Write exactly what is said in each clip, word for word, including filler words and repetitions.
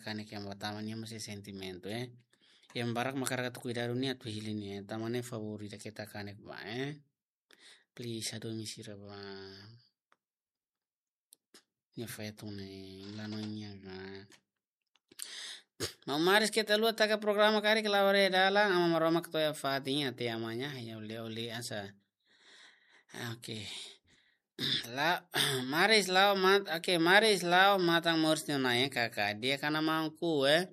kanek iha ema tama nian mós iha sentimentu, eh. Iha ema barak mak hakarak atu kuidadu nia atu hili nia, eh. Tanba ne'e favór ida keta kanek ba, eh. Please, hadomi sira ba. Nia feto ne'e, la no nia ka. Maun Maris, keta haluha taka programa karik, la'o haree dalan, Aman Maromak to'o iha fatin, até amanhã, ya, olé, olé, asa. Oke. La, Maris la'o mat-, oke, Maris la'o matan moris no nain kaka. Di'ak, Ana Mangku, eh.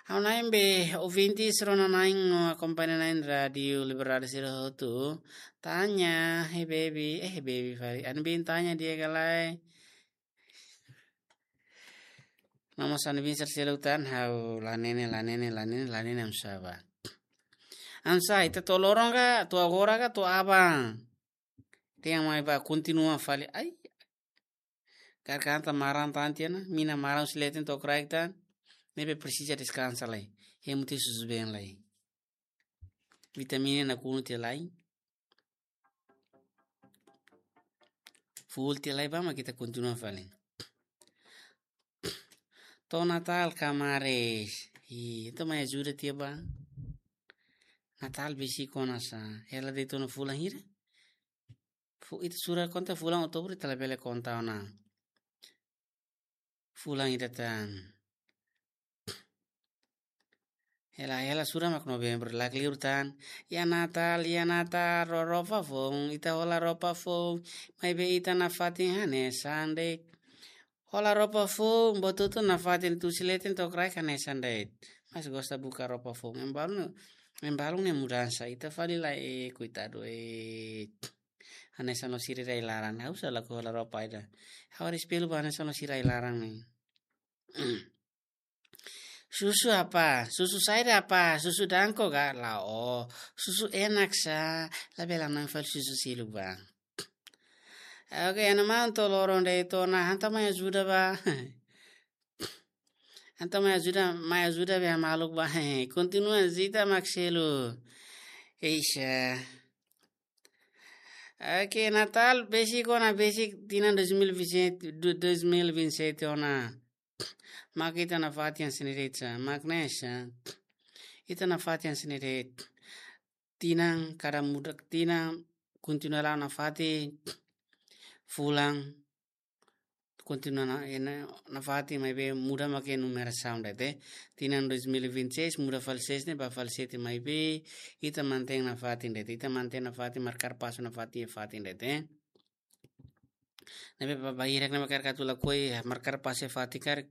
Ha'u-nia be ouvinte sira-ne'e no akompaña iha rádiu Liberdade sira hotu. Tanya, hey baby, eh, baby fali. Ana bin tanya di'ak ka lae. Mama sani bin sel-seluk tan, ha'u la nene, la nene, la nene, la nene, amsá ba. Amsá, ita to'o loron ka, to'o agora ka, to'o aban. Tenke mai ba kontinua fali. Ai. Karik ita maran tan tiha ona, mina maran husi leten to'o kraik tan. Ne'ebé presiza deskansa lai. Hemu tiha susubeen lai. Vitamina nakonu tiha lai. Full tiha lai ba mak ita kontinua fali. To'o Natál ka Maris. Ih, entaun mai ajuda tiha ba. Natál besik ona sá. Hela de'it ona fulan hira. Fu-, ita sura konta fulan Outubru, ita labele konta ona fulan ida tan. Hela, hela sura mak Novembru, la kleur tan. Iha Natál, iha Natál, ro-, roupa foun, ita hola roupa foun. Maibé ita nafatin hanesan de'it. Hola roupa foun, buat hotu nafatin, husi leten to'o kraik hanesan de'it. Mas gosta buka roupa foun. Ema balu ne'e, ema balu ne'e mudansa. Ita fali la, eh, koitadu, eh. Hanesan la'o sira iha laran. Ha'u sá lakohi hola roupa ida. Ha'u haree espellu ba hanesan la'o sira iha laran ne'e. Susu apá? Susu saida apá? Susu danko ka? La'o. Susu enak sá. Labele hanoin fali susu seluk ba. Oke, Ana Mangku, to'o loron de'it ona, entaun mai ajuda ba. Entaun mai ajuda, mai ajuda be maluk ba. Kontinua zita mak selu. Eixa. Oke, Natál besik ona, besik tinan dois mil e vinte e sete, do-, dois mil e vinte e sete ona. Mak ita nafatin hanesan ne'e de'it sá, mak ne'e sá. Ita nafatin hanesan ne'e de'it. Tinan kada muda, tinan kontinua la'o nafatin, fulan kontinua na, eh, na, nafatin maibé muda mak iha numerasaun de'it, eh. Tinan dois mil e vinte e seis muda fali seis ne'e ba fali sete maibé ita mantein nafatin de'it, ita mantein nafatin, markar pasu nafatin iha fatin de'it, eh. Ne'ebé ba, ba hirak ne'e mak hakarak atu lakohi, eh, markar pasu iha fatin karik.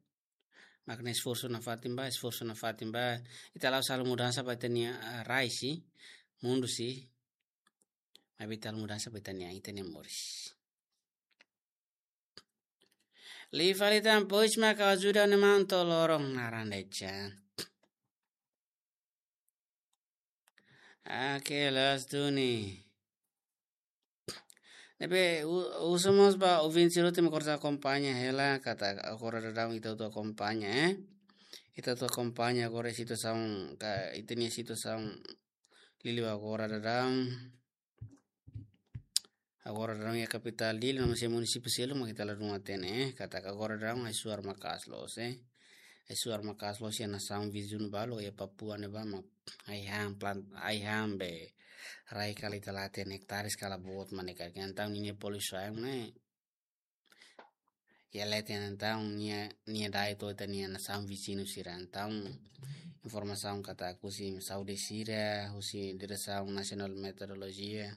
Mak ne'e esforsu nafatin ba, esforsu nafatin ba. Ita la'ós halo mudansa ba ita-nia, ah, rai sih, mundu sih. Maibé ita halo mudansa ba ita-nia, ita-nia moris. Liu fali tan, pois mak ha'u ajuda Ana Mangku to'o loron naran de'it sá. Oke, loos duni. Ne'ebé, u-, husu mós ba ouvinte sira hotu mak hakarak akompaña hela, katak agora daudaun ita hotu akompaña, eh. Ita hotu akompaña agora situasaun, ka, ita-nia situasaun liuliu agora daudaun. Agora daudaun iha kapitál Dili no mós iha munisípiu seluk mak ita ladún hatene, eh. Katak agora daudaun ai-suar maka'as loos, eh. Ai-suar maka'as loos iha nasaun viziñu balu, iha Papua ne'ebá mak ai-han plant, ai-han be rai kala ita la hatene, ektares kala boot mak ne'e karik. Entaun ninia poluisaun ne'e iha leten, entaun nia, nia dae to'o ita-nia nasaun viziñu sira. Entaun informasaun katak husi saúde sira, husi Diresaun Nasionál Meteorolojia,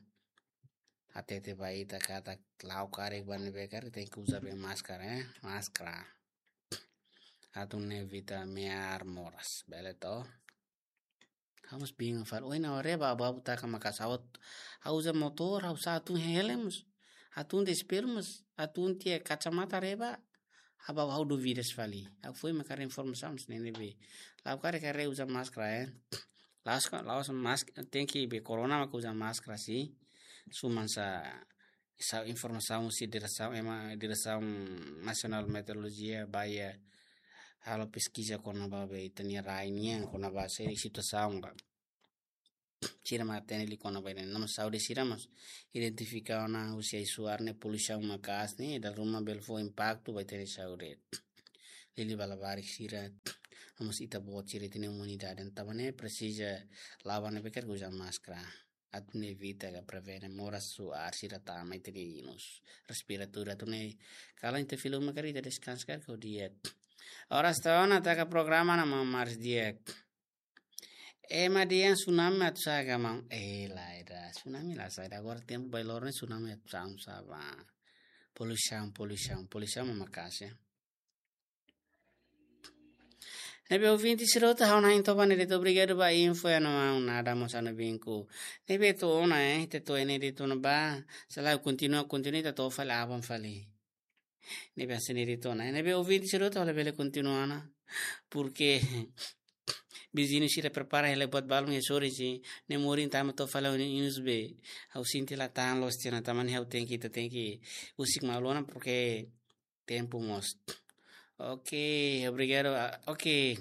hatete ba ita katak la'o karik ba ne'ebé karik tenke uza be máskara, eh, máskara. Atu evita me'ar moras, bele to? Ha'u mós bingung fali. Ohin ha'u reba, abu-abu taka maka'as, ha'u uza motór, ha'u sá, hatún helm mós, hatún espellu mós, hatún tiha kacamata reba. Abu-abu ha'u dúvidas fali. Ha'u foin mak haree informasaun hanesan ne'e be. La'o karik haree uza máskara, eh. La'ós ka, la'ós mask-, tenke be korona mak uza máskara sih. Suman sá, sá informasaun husi diresaun, ema Diresaun Nasionál Meteorolojia ba iha halo peskiza kona-ba be ita-nia rai nian, kona-ba seri situasaun ba. Sira mak hatene liu kona-ba ne'e. No mós saúde sira mós identifika ona husi ai-suar ne'e, poluisaun maka'as ne'e, dala ruma bele fó impaktu ba ita-nia saúde. liuliu ba labarik sira, no mós ita-boot sira ita-nia komunidade, tanba ne'e presiza la'o ba ne'ebé karik uza máskara. Atu nune'e evita ka prevene moras suar sira tama ita-nia inus respiratóriu, atu nune'e kalan ita fila uma karik ita deskansa karik ha'u di'ak. Oras to'o ona taka programa ne'e mak maris di'ak. Ema dehan tsunami atu sa'e ka maun? Eh, lae ida, tsunami la sa'e ida. Agora tempu bailor ne'e tsunami atu sa'e, sa'e ba. Poluisaun, poluisaun, poluisaun mak maka'as, ya. Ne'ebé ouvinte sira hotu, ha'u na'in to'o ba ne'e de'it, obrigadu ba info ya no maun, nada mós ha'u-nia vínkulo. Ne'ebé to'o ona, eh, ita to'o ne'e de'it ona ba. Selae kontinua, kontinua ita to'o fali aban fali. Ne'ebé hanesan ne'e de'it ona. Ne'ebé ouvinte sira hotu, labele kontinua ona. Porke viziñu sira prepara hela buat balun iha sorin, ne'e morin tama to'o fali ha'u-nia inus be. Ha'u sente la tahan loos tiha ona, tanba ne'e ha'u tenke, ita tenke husik malu ona, porke tempu mós. Oke, obrigadu. Ah, oke.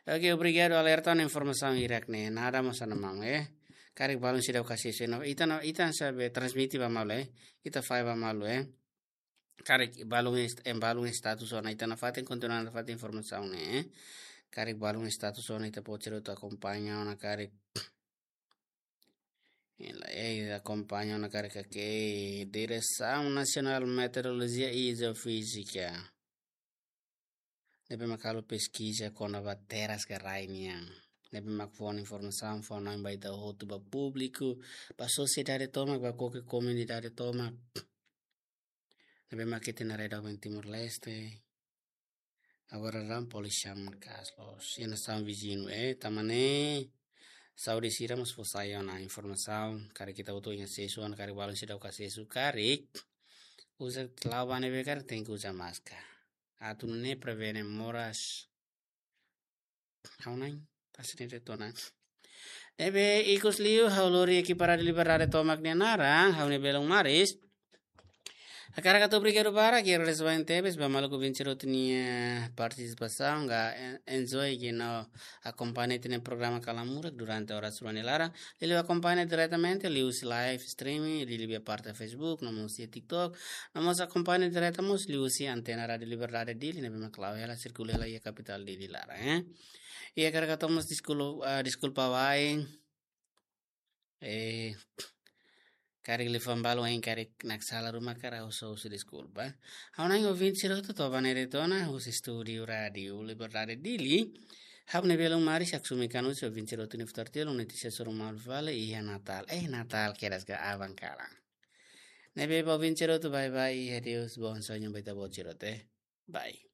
Oke, obrigadu alerta no informasaun hirak ne'e. Nada mós ha'u-nia maun, eh. Karik balun seidauk asesu, eh. No, ita no, ita hanesan be transmite ba malu, eh. Ita fahe ba malu, eh. Karik balun est-, em balun status ona ita nafatin, kontinua nafatin informasaun ne'e, eh. Karik balun status ona ita-boot sira hotu akompaña ona karik. Ela, eh, akompaña ona karik ke Diresaun Nasionál Meteorolojia i Jeofízika. Ne'ebé mak halo peskiza kona-ba teras ka rai nian. Ne'ebé mak fó ona informasaun, fó ona ba ita hotu, ba públiku, ba sosiedade tomak, ba koke komunidade tomak. Ne'ebé mak ita-nia rai doben Timor-Leste. Agora daudaun poluisaun maka'as loos. Iha nasaun viziñu, eh, tanba ne'e saúde sira mós fó sai ona informasaun, karik ita hotu iha asesu ona, karik balun seidauk asesu, karik uza, la'o ba ne'ebé karik tenke uza máskara. Atu nune'e prevene moras. Ha'u na'in, hanesan ne'e de'it ona. Ne'ebé ikus liu, ha'u lori ekipa Rádiu Liberdade tomak nia naran, ha'u-nia belun Maris. Hakarak hato'o obrigadu barak, i agradese barak tebes ba maluk ouvinte sira hotu nia partisipasaun, ka en-, enjoy ke no akompaña ita-nia programa Kalan Murak durante oras rua nia laran. Liuliu akompaña diretamente liuhusi live streaming, liuliu iha parte Facebook, no mós iha TikTok, no mós akompaña direta mós liuhusi antena Rádiu Liberdade Dili, ne'ebé mak la'o hela, sirkula hela iha kapitál Dili laran, eh. I hakarak hato'o mós deskul-, ah, deskulpa wa'in. Eh, karik liafuan balu ain karik naksalan ruma karik ha'u husu deskulpa. Ha'u na'in ouvinte sira hotu, to'o ba ne'e de'it ona, husi estúdiu Rádiu Liberdade Dili. Ha'u-nia belun Maris, haksomi kan husi ouvinte sira hotu nia futar tiha, lun notisia soru malu fali iha Natál. Eh, Natál kedas ka aban kalan. Ne'ebé ba ouvinte sira hotu, bye bye, i adeus, bom sonho ba ita-boot sira hotu, eh. Bye.